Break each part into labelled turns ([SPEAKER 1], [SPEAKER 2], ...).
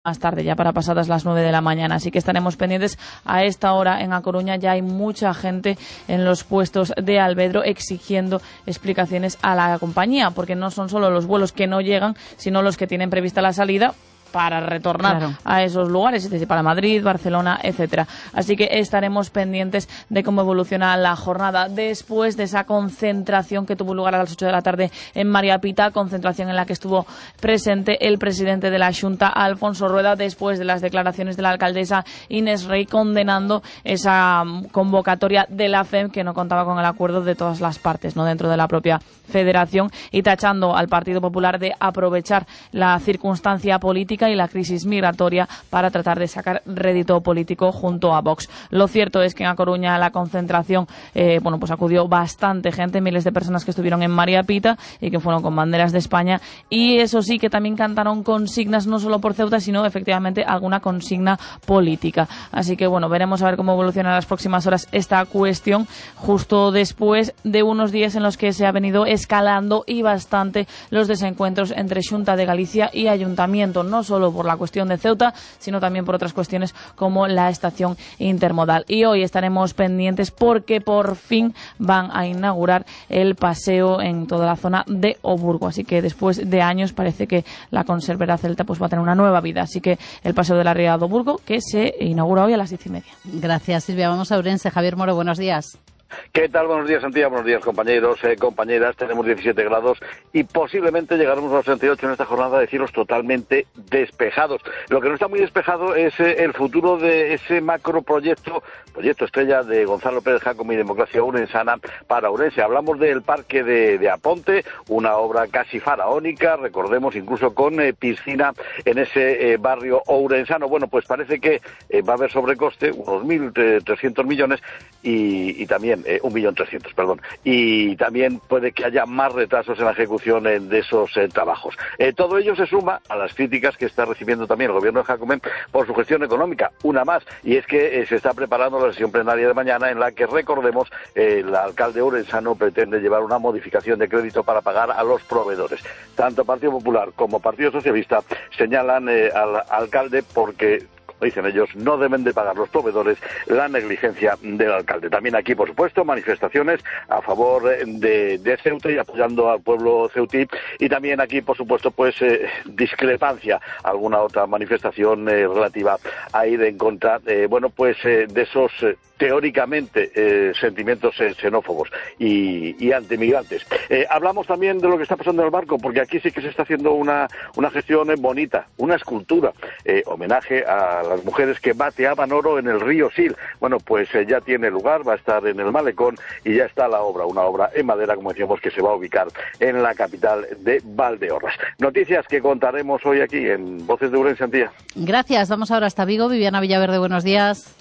[SPEAKER 1] más tarde, ya para pasadas las 9 de la mañana. Así que estaremos pendientes. A esta hora en A Coruña ya hay mucha gente en los puestos de Alvedro exigiendo explicaciones a la compañía, porque no son solo los vuelos que no llegan, sino los que tienen prevista la salida para retornar a esos lugares, es decir, para Madrid, Barcelona, etcétera. Así que estaremos pendientes de cómo evoluciona la jornada después de esa concentración que tuvo lugar a las 8 de la tarde en María Pita, concentración en la que estuvo presente el presidente de la Xunta, Alfonso Rueda, después de las declaraciones de la alcaldesa Inés Rey condenando esa convocatoria de la FEM que no contaba con el acuerdo de todas las partes, no dentro de la propia federación, y tachando al Partido Popular de aprovechar la circunstancia política y la crisis migratoria para tratar de sacar rédito político junto a Vox. Lo cierto es que en A Coruña la concentración, pues acudió bastante gente, miles de personas que estuvieron en María Pita y que fueron con banderas de España, y eso sí, que también cantaron consignas no solo por Ceuta, sino efectivamente alguna consigna política. Así que veremos a ver cómo evoluciona en las próximas horas esta cuestión, justo después de unos días en los que se ha venido escalando y bastante los desencuentros entre Xunta de Galicia y Ayuntamiento, no solo por la cuestión de Ceuta, sino también por otras cuestiones como la estación intermodal. Y hoy estaremos pendientes porque por fin van a inaugurar el paseo en toda la zona de Oburgo. Así que después de años parece que la conservera celta va a tener una nueva vida. Así que el paseo de la Ría de Oburgo, que se inaugura hoy a las 10:30.
[SPEAKER 2] Gracias, Silvia. Vamos a Ourense. Javier Moro, buenos días.
[SPEAKER 3] ¿Qué tal? Buenos días, Santiago. Buenos días, compañeros, compañeras. Tenemos 17 grados y posiblemente llegaremos a los 38 en esta jornada de cielos totalmente despejados. Lo que no está muy despejado es el futuro de ese proyecto estrella de Gonzalo Pérez Jácome y Democracia Ourensana para Ourense. Hablamos del Parque de Aponte, una obra casi faraónica, recordemos, incluso con piscina en ese barrio ourensano. Bueno, pues parece que va a haber sobrecoste, unos 1.300 millones y también 1.300.000, perdón, y también puede que haya más retrasos en la ejecución de esos trabajos. Todo ello se suma a las críticas que está recibiendo también el gobierno de Jácome por su gestión económica, una más, y es que se está preparando la sesión plenaria de mañana en la que, recordemos, el alcalde ourensano pretende llevar una modificación de crédito para pagar a los proveedores. Tanto Partido Popular como Partido Socialista señalan al alcalde porque, dicen ellos, no deben de pagar los proveedores la negligencia del alcalde. También aquí, por supuesto, manifestaciones a favor de Ceuta y apoyando al pueblo ceutí, y también aquí, por supuesto, discrepancia, alguna otra manifestación relativa a ir en contra, de esos teóricamente sentimientos xenófobos y antimigrantes. Hablamos también de lo que está pasando en el barco, porque aquí sí que se está haciendo una gestión bonita, una escultura, homenaje a las mujeres que bateaban oro en el río Sil. Bueno, pues ya tiene lugar, va a estar en el malecón y ya está la obra, una obra en madera, como decíamos, que se va a ubicar en la capital de Valdeorras. Noticias que contaremos hoy aquí en Voces de Ourense, Antía.
[SPEAKER 2] Gracias, vamos ahora hasta Vigo. Viviana Villaverde, buenos días.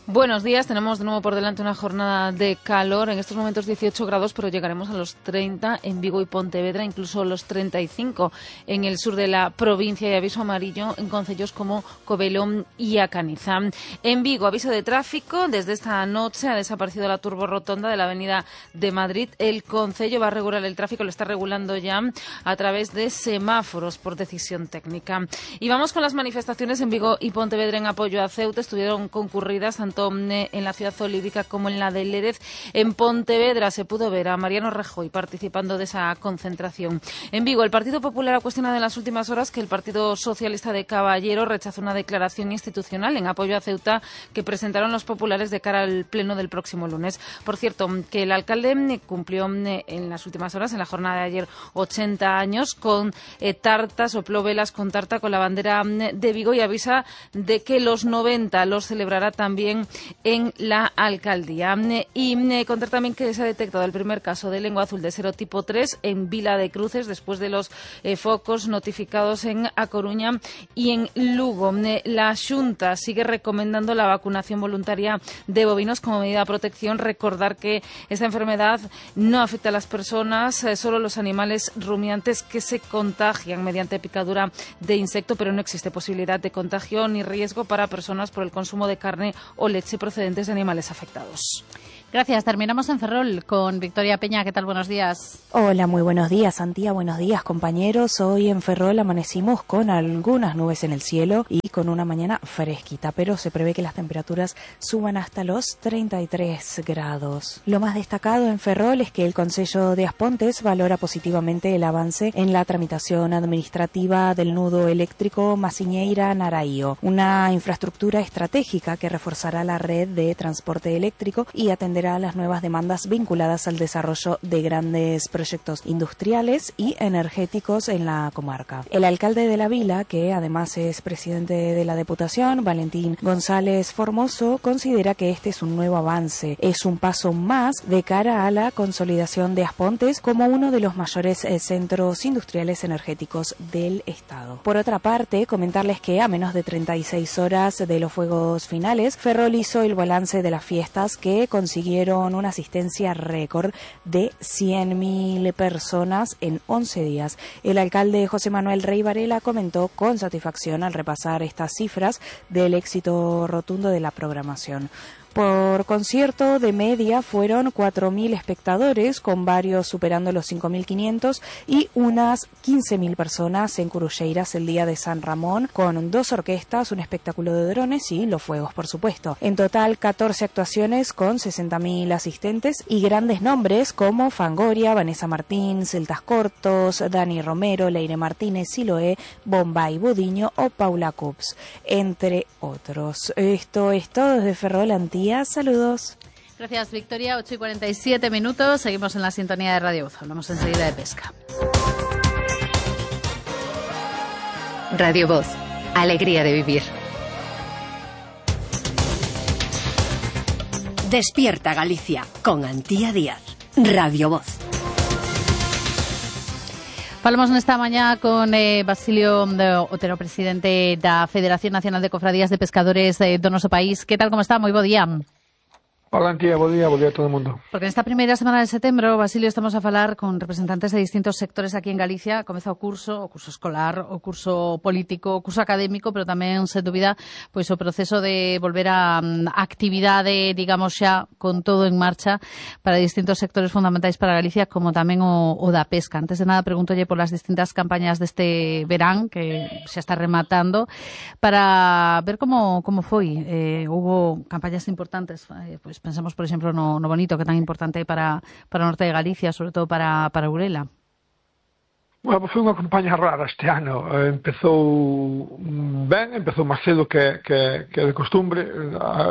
[SPEAKER 4] Buenos días, tenemos de nuevo por delante una jornada de calor, en estos momentos 18 grados, pero llegaremos a los 30 en Vigo y Pontevedra, incluso los 35 en el sur de la provincia, y aviso amarillo en concellos como Covelo y A Caniza. En Vigo, aviso de tráfico, desde esta noche ha desaparecido la turborotonda de la avenida de Madrid. El concello va a regular el tráfico, lo está regulando ya a través de semáforos por decisión técnica. Y vamos con las manifestaciones en Vigo y Pontevedra en apoyo a Ceuta. Estuvieron concurridas tanto en la ciudad olívica como en la de Lérez. En Pontevedra se pudo ver a Mariano Rajoy participando de esa concentración. En Vigo, el Partido Popular ha cuestionado en las últimas horas que el Partido Socialista de Caballero rechazó una declaración institucional en apoyo a Ceuta que presentaron los populares de cara al pleno del próximo lunes. Por cierto, que el alcalde cumplió en las últimas horas, en la jornada de ayer, 80 años con tarta, sopló velas con tarta con la bandera de Vigo y avisa de que los 90 los celebrará también en la alcaldía. Y contar también que se ha detectado el primer caso de lengua azul de serotipo 3 en Vila de Cruces, después de los focos notificados en A Coruña y en Lugo. La Xunta sigue recomendando la vacunación voluntaria de bovinos como medida de protección. Recordar que esta enfermedad no afecta a las personas, solo los animales rumiantes que se contagian mediante picadura de insecto, pero no existe posibilidad de contagio ni riesgo para personas por el consumo de carne o leche procedentes de animales afectados.
[SPEAKER 2] Gracias. Terminamos en Ferrol con Victoria Peña. ¿Qué tal? Buenos días.
[SPEAKER 5] Hola, muy buenos días, Antía. Buenos días, compañeros. Hoy en Ferrol amanecimos con algunas nubes en el cielo y con una mañana fresquita, pero se prevé que las temperaturas suban hasta los 33 grados. Lo más destacado en Ferrol es que el Concello de Aspontes valora positivamente el avance en la tramitación administrativa del nudo eléctrico Masiñeira-Naraío, una infraestructura estratégica que reforzará la red de transporte eléctrico y atenderá a las nuevas demandas vinculadas al desarrollo de grandes proyectos industriales y energéticos en la comarca. El alcalde de la vila, que además es presidente de la Diputación, Valentín González Formoso, considera que este es un nuevo avance, es un paso más de cara a la consolidación de Aspontes como uno de los mayores centros industriales energéticos del Estado. Por otra parte, comentarles que a menos de 36 horas de los fuegos finales, Ferrol hizo el balance de las fiestas que consiguieron una asistencia récord de 100.000 personas en 11 días. El alcalde José Manuel Rey Varela comentó con satisfacción al repasar estas cifras del éxito rotundo de la programación. Por concierto, de media fueron 4.000 espectadores, con varios superando los 5.500 y unas 15.000 personas en Curulleiras el día de San Ramón, con 2 orquestas, un espectáculo de drones y los fuegos, por supuesto. En total, 14 actuaciones con 60.000 asistentes y grandes nombres como Fangoria, Vanessa Martín, Celtas Cortos, Dani Romero, Leire Martínez, Siloé, Bombay Budiño o Paula Cups, entre otros. Esto es todo desde Ferrol, Antía. Saludos.
[SPEAKER 2] Gracias, Victoria. 8:47. Seguimos en la sintonía de Radio Voz. Hablamos enseguida de pesca.
[SPEAKER 6] Radio Voz. Alegría de vivir. Despierta Galicia con Antía Díaz. Radio Voz.
[SPEAKER 2] Falamos nesta mañá con Basilio Otero, presidente da Federación Nacional de Cofradías de Pescadores do noso país. Que tal, como está? Moi bo día.
[SPEAKER 7] Hola, Antía, bo día a todo o mundo.
[SPEAKER 2] Porque nesta primeira semana de setembro, Basilio, estamos a falar con representantes de distintos sectores aquí en Galicia. Comeza o curso escolar, o curso político, o curso académico, pero tamén, sen dúbida, pois o proceso de volver a actividade, digamos xa, con todo en marcha para distintos sectores fundamentais para Galicia, como tamén o da pesca. Antes de nada, pregúntolle por as distintas campañas deste verán, que xa está rematando, para ver como foi. Hubo campañas importantes, pois pensamos, por exemplo, no bonito, que é tan importante para o norte de Galicia, sobre todo para Urela.
[SPEAKER 7] Bueno, foi unha campaña rara este ano. Empezou ben, empezou máis cedo que de costumbre.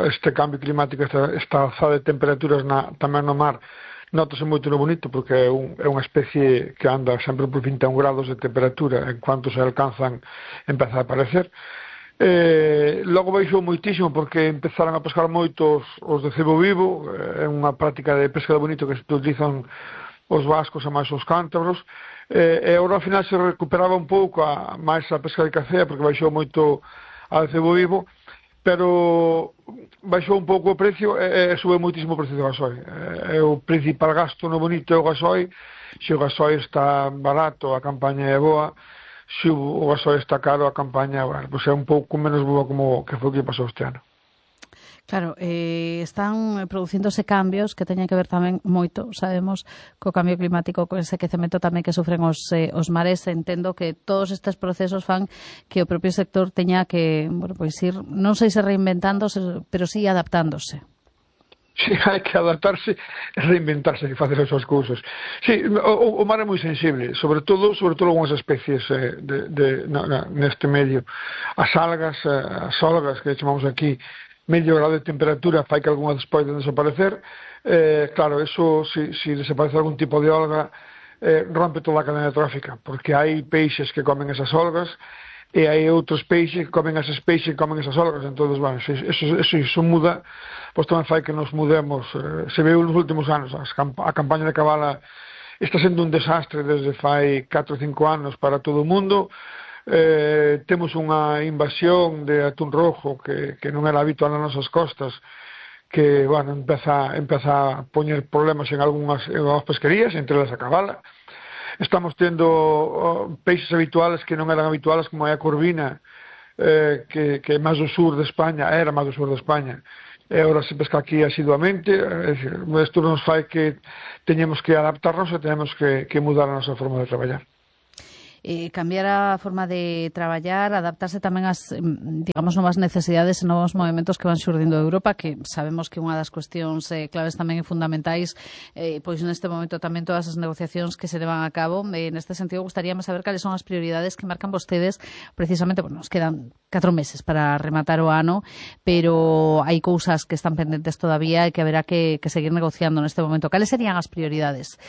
[SPEAKER 7] Este cambio climático, esta alzada de temperaturas tamén no mar, notase moito no bonito, porque é unha especie que anda sempre por 21 grados de temperatura. En cuanto se alcanzan, empeza a aparecer. Logo baixou moitísimo porque empezaron a pescar moitos os de cebo vivo. É unha práctica de pesca de bonito que se utilizan os vascos e máis os cántabros, e agora ao final se recuperaba un pouco máis a pesca de cacea porque baixou moito a de cebo vivo, pero baixou un pouco o precio e sube moitísimo o precio do gasoi. É o principal gasto no bonito é o gasoi. Se o gasoi está barato, a campaña é boa. Se o gasoi está caro, a campaña, bueno, pues é un pouco menos boa como que foi o que pasou este ano.
[SPEAKER 2] Claro, están producíndose cambios que teñen que ver tamén moito, sabemos, co cambio climático, co ese quecemento tamén que sufren os mares. Entendo que todos estes procesos fan que o propio sector teña que, bueno, pois ir, non sei se reinventándose, pero sí adaptándose.
[SPEAKER 7] Sí, hai que adaptarse e reinventarse e facer as súas cousas. Sí, o mar é moi sensible, sobre todo algunhas especies neste medio. As algas, as olgas que chamamos aquí, medio grado de temperatura fai que algunhas poden desaparecer. Claro, eso, se desaparece algún tipo de olga, rompe toda a cadena trófica, porque hai peixes que comen esas olgas e hai outros peixes que comen eses peixes que comen esas algas. Entón, bueno, eso muda, pois tamén fai que nos mudemos. Se veu nos últimos anos, a campaña de cabala está sendo un desastre desde fai 4 ou 5 anos para todo o mundo. Temos unha invasión de atún rojo que non era habitual nas nosas costas, que, bueno, empeza a poñer problemas en algunhas pesquerías, entre elas a cabala. Estamos tendo peixes habituales que non eran habituales, como é a corvina, que é máis do sur de España, era máis do sur de España, e agora se pesca aquí asiduamente. Isto nos fai que teñemos que adaptarnos e teñemos que mudar a nosa forma de traballar.
[SPEAKER 2] Cambiar a forma de traballar, adaptarse tamén ás, digamos, novas necesidades e novos movimentos que van xurdindo de Europa, que sabemos que unha das cuestións claves tamén e fundamentais, pois neste momento tamén todas as negociacións que se levan a cabo. Neste sentido, gustaríame saber cales son as prioridades que marcan vostedes, precisamente, bueno, nos quedan 4 meses para rematar o ano, pero hai cousas que están pendentes todavía e que haberá que seguir negociando neste momento. Cales serían as prioridades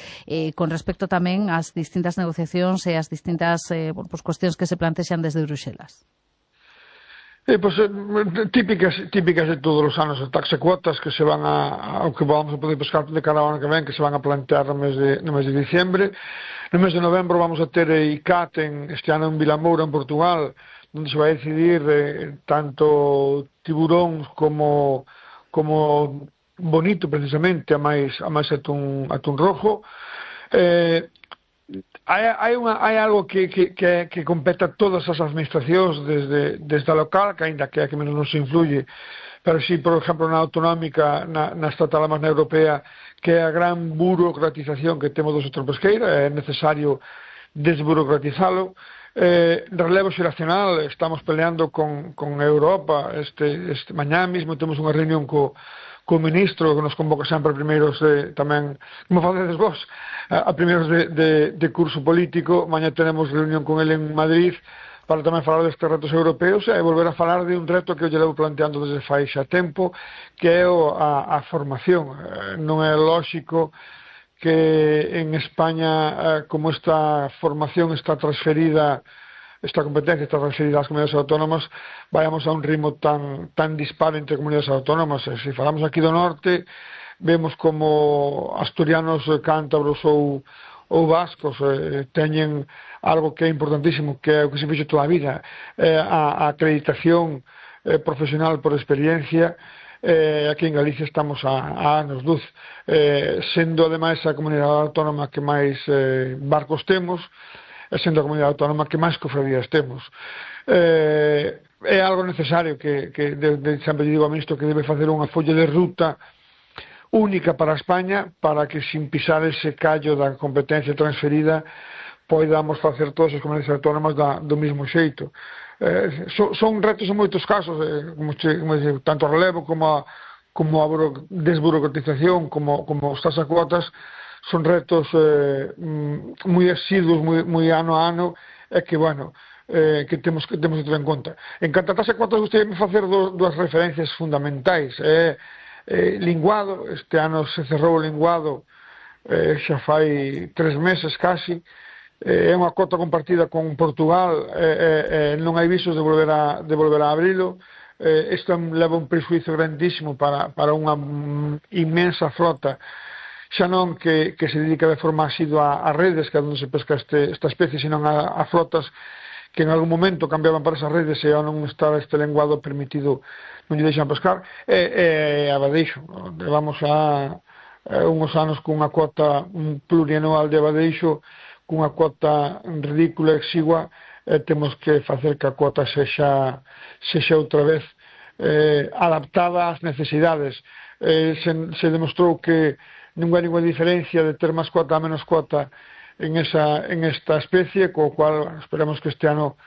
[SPEAKER 2] con respecto tamén ás distintas negociacións e ás distintas cuestións que se plantexan desde Bruxelas?
[SPEAKER 7] Típicas de todos os anos, as taxa cuotas que se van ao que vamos a poder pescar de cara ao ano que ven, que se van a plantear no mes de diciembre. No mes de novembro vamos a ter ICAT este ano en Vilamoura, en Portugal, onde se vai decidir tanto tiburóns como bonito, precisamente, a máis atún rojo. Hai algo que compete a todas as administracións desde a local, que aínda que a que menos nos influye, pero si, por exemplo, na autonómica, na estatal, máis na europea, que é a gran burocratización que temos do sector pesqueiro, é necesario desburocratizalo. Relevo xeracional, estamos peleando con Europa. Mañá mesmo temos unha reunión co ministro, que nos convoca sempre a primeiros tamén, como facedes vos, a primeiros de curso político. Mañá tenemos reunión con ele en Madrid para tamén falar destes retos europeos e volver a falar de un reto que eu lle levo planteando desde fai xa tempo, que é a formación. Non é lóxico que en España, como esta formación está transferida, esta competencia está transferida ás comunidades autónomas, vayamos a un ritmo tan dispar entre comunidades autónomas. Se falamos aquí do norte, vemos como asturianos, cántabros ou vascos teñen algo que é importantísimo, que é o que se fixo toda a vida, a acreditación profesional por experiencia. Aquí en Galicia estamos a anos luz, sendo ademais a comunidade autónoma que máis barcos temos, sendo a comunidade autónoma que máis cofradías temos. É algo necesario que sempre digo ao ministro que debe facer unha folla de ruta única para España, para que sin pisar ese callo da competencia transferida podamos facer todas as comunidades autónomas do mesmo xeito. Son retos en moitos casos, tanto a relevo como a desburocratización, como os tasacuotas. Son retos moi asiduos, moi ano a ano, e que, bueno, que temos que ter en conta. En canto a taxa cuotas, gostaríame facer dúas referencias fundamentais. Linguado, este ano se cerrou o linguado, xa fai 3 meses casi, é unha cota compartida con Portugal, non hai visos de volver a abrilo. Isto leva un prejuízo grandísimo para unha inmensa flota, xa non que se dedica de forma asidua a redes, que é onde se pesca esta especie, senón a flotas que en algún momento cambiaban para esas redes e ao non estar este lenguado permitido non lle deixan pescar. A badeixo, levamos a unhos anos cunha cuota plurianual de badeixo, cunha cuota ridícula, exigua, temos que facer que a cuota sexa outra vez adaptada ás necesidades. Se demostrou que non hai ninguna diferencia de ter máis cuota a menos cuota en esta especie, co cual esperamos que este ano,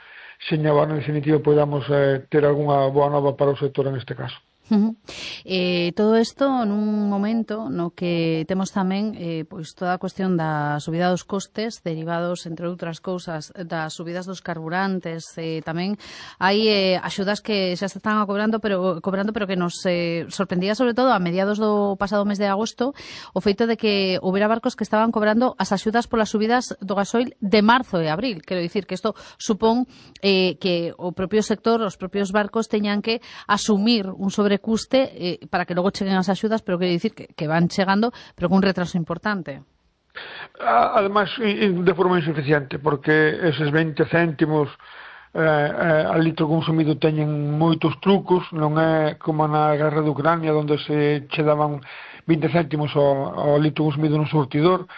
[SPEAKER 7] seña o ano definitivo, podamos ter algunha boa nova para o sector en este caso.
[SPEAKER 2] Todo isto nun momento no que temos tamén pois toda a cuestión da subida dos costes derivados, entre outras cousas, das subidas dos carburantes. Tamén hai axudas que xa se están cobrando, pero que nos sorprendía sobre todo a mediados do pasado mes de agosto o feito de que houbera barcos que estaban cobrando as axudas polas subidas do gasoil de marzo e abril. Quero dicir que isto supón que o propio sector, os propios barcos teñan que asumir un sobrecuste para que logo cheguen as axudas, pero quero dicir que van chegando, pero con un retraso importante.
[SPEAKER 7] Ademais, de forma insuficiente, porque eses 20 céntimos al litro consumido teñen moitos trucos. Non é como na guerra de Ucrania, onde se che daban 20 céntimos ao litro consumido nun surtidor.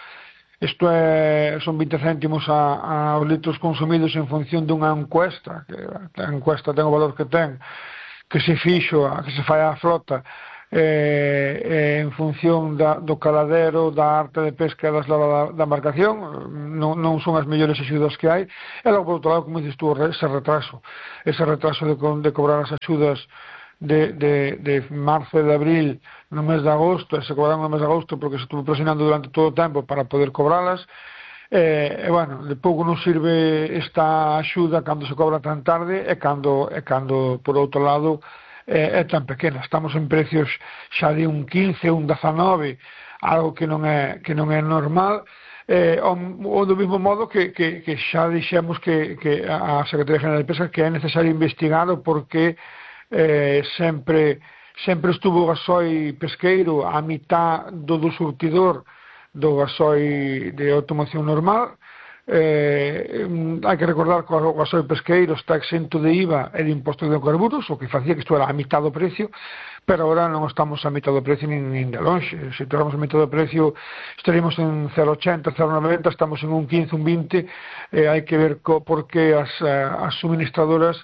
[SPEAKER 7] Isto son 20 céntimos aos litros consumidos en función dunha encuesta, que a encuesta ten o valor que ten, que se fixo, que se fai a flota en función do caladero, da arte de pesca e da eslava da embarcación. Non son as mellores axudas que hai. E logo, por outro lado, como dices tú, ese retraso de cobrar as axudas de marzo e de abril no mes de agosto, e se cobraron no mes de agosto porque se estuvo presionando durante todo o tempo para poder cobralas. Bueno, de pouco non sirve esta axuda cando se cobra tan tarde e cando por outro lado é tan pequena. Estamos en precios xa de un 15, un 19, algo que non é normal, ou do mesmo modo que xa dixemos que a Secretaría General de Pesca que é necesario investigalo porque sempre estuvo o gasoi pesqueiro a mitad do surtidor do gasoi de automoción normal. Hai que recordar que o gasoi pesqueiro está exento de IVA e de impostos de hidrocarburos, o que facía que isto era a mitad do precio, pero agora non estamos a mitad do precio nin de longe. Se tuéramos a mitad do precio estaríamos en 0,80, 0,90, estamos en un 15, un 20. Hai que ver por que as suministradoras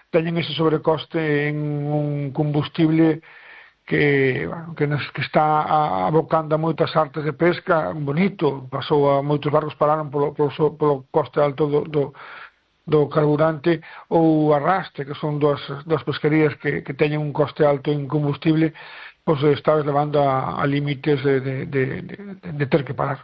[SPEAKER 7] teñen ese sobrecoste en un combustible que está abocando a moitas artes de pesca bonito. Pasou a moitos barcos pararon polo coste alto do carburante, ou arrastre, que son das pesquerías que teñen un coste alto en combustible, pois está levando a límites de ter que parar.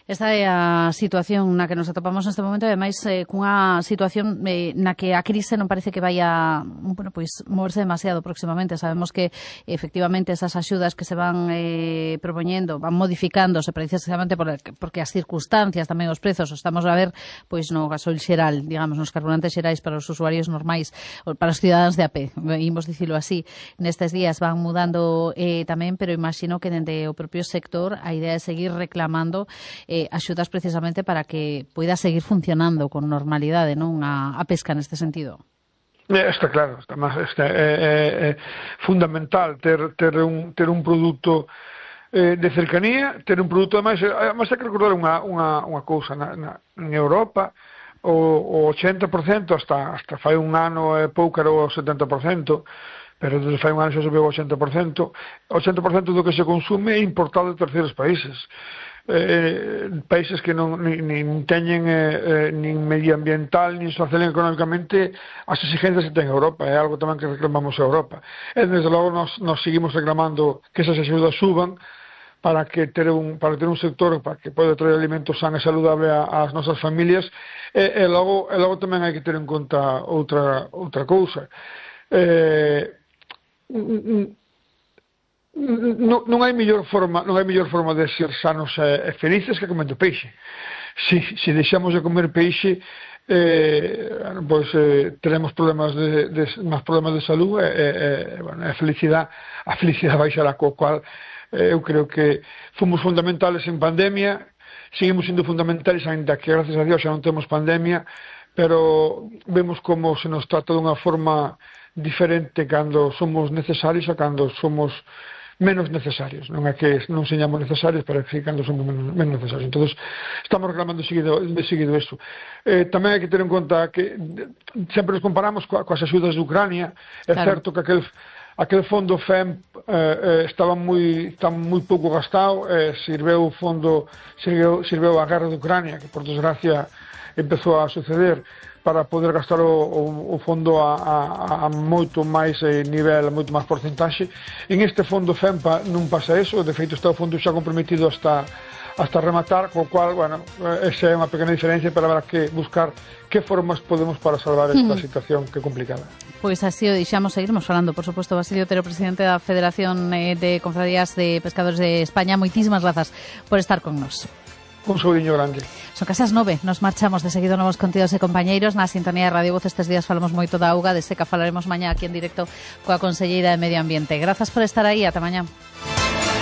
[SPEAKER 2] Esta é a situación na que nos atopamos neste momento, e ademais cunha situación na que a crise non parece que vai a moverse demasiado próximamente. Sabemos que efectivamente esas axudas que se van propoñendo van modificándose precisamente porque as circunstancias, tamén os prezos, estamos a ver pois no gasoil xeral, digamos, nos carburantes xerais para os usuarios normais, para os cidadáns de a pé, imos dicilo así, nestes días van mudando tamén, pero imagino que dende o propio sector a idea é seguir reclamando axudas precisamente para que poida seguir funcionando con normalidade, non, a pesca neste sentido.
[SPEAKER 7] Está claro, é fundamental ter un produto de cercanía, ter un produto, además hai que recordar unha cousa, en Europa o 80% hasta fai un ano e pouco era o 70%, pero desde fai un ano xa subiu o 80%. O 80% do que se consume é importado de terceiros países. Países que nin teñen nin medioambiental nin social económicamente as exigencias que ten Europa. É algo tamén que reclamamos a Europa, e desde logo nos seguimos reclamando que esas axudas suban para ter un sector para que poida traer alimentos san e saludable ás nosas familias. E logo tamén hai que ter en conta outra cousa. Non hai mellor forma de ser sanos e felices que comendo peixe. Se deixamos de comer peixe, pois teremos máis problemas de salud, e a felicidade baixará, co cual eu creo que fomos fundamentales en pandemia, seguimos sendo fundamentales, ainda que gracias a Dios xa non temos pandemia, pero vemos como se nos trata dunha forma diferente cando somos necesarios a cando somos menos necesarios. Non é que non señamos necesarios, pero que cando somos menos necesarios. Entón, estamos reclamando seguido isto. Tamén hai que ter en conta que sempre nos comparamos coas axudas de Ucrania. É certo que aquel fondo FEM está moi pouco gastado, sirveu a guerra de Ucrania, que por desgracia empezou a suceder, para poder gastar o fondo a moito máis nivel, a moito máis porcentaxe. En este fondo FEMPA non pasa eso, de feito está o fondo xa comprometido hasta rematar, co cual, esa é unha pequena diferencia, pero habrá que buscar que formas podemos para salvar esta situación que é complicada.
[SPEAKER 2] Pois así o deixamos, seguiremos falando, por suposto. Basilio Otero, presidente da Federación de Confrarías de Pescadores de España, moitísimas grazas por estar con nos.
[SPEAKER 7] Un saudiño grande.
[SPEAKER 2] Son case as 9, nos marchamos de seguido novos contidos e compañeiros na sintonía de Radio Voz. Estes días falamos moito da auga, de seca falaremos mañá aquí en directo coa conselleira de Medio Ambiente. Grazas por estar aí, ata mañá.